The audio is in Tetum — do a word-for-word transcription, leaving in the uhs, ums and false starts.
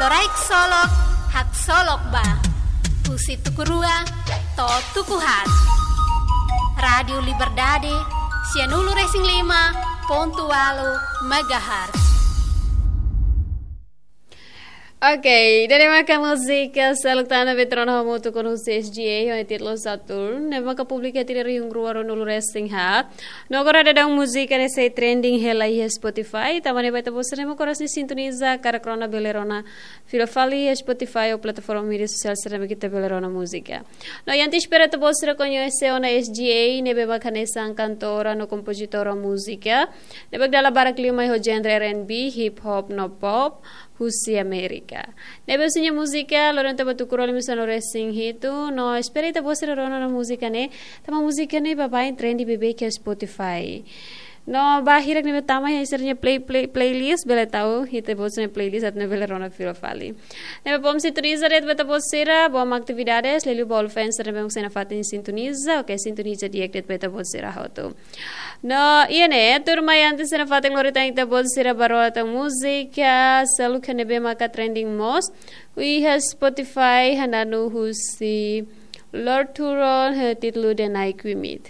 Toraik solok, haksolok ba. Husi tuku rua to'o tuku haat. Rádiu Liberdade, sianulu-resin-lima pontu ualu megahertz. Ok, ida-ne'e maka múzika seluk tan ne'ebé tuur ona hamutuk ho S G A, ho títulu Saturn, ne'ebé maka publika iha tinan rihun rua ruanulu-resin-haat. No agora daudaun múzika ne'e sei trending hela iha Spotify, tanba ne'e ba ita-boot sira ne'ebé mak oras ne'e sintoniza, karik rona bele rona fila fali iha Spotify ou plataforma média sosiál sira ne'ebé ita bele rona múzika. No, ita espera ita-boot sira koñese ona S G A, ne'ebé maka hanesan kantora no kompozitora múzika ne'ebé dala barak liu mai ho genre R and B, hip hop no pop, husi Amérika. Ne'ebé husi nia múzika, loron ida ba tuku rua liu sanulu-resin-hitu, no espera ita-boot sira rona ona múzika ne'e, tanba múzika ne'e baibain trending beibeik iha Spotify. No ba hirak ne'ebé tama iha sira-nia play, play, playlist, bele tau, ita-boot sira-nia playlist atu nune'e bele rona fila fali. Ne'ebé bom sintoniza de'it ba ita-boot sira, bom atividades, liuliu ba ol fans sira ne'ebé mak sei nafatin sintoniza, ok, sintoniza di'ak de'it ba ita-boot sira hotu. No, iha ne'e, tuirmai antes ita nafatin lori tan ita-boot sira ba rona tan múzika seluk ne'ebé maka trending mós iha Spotify, hananu husi Lord Huron, ho títulu The Night We Meet.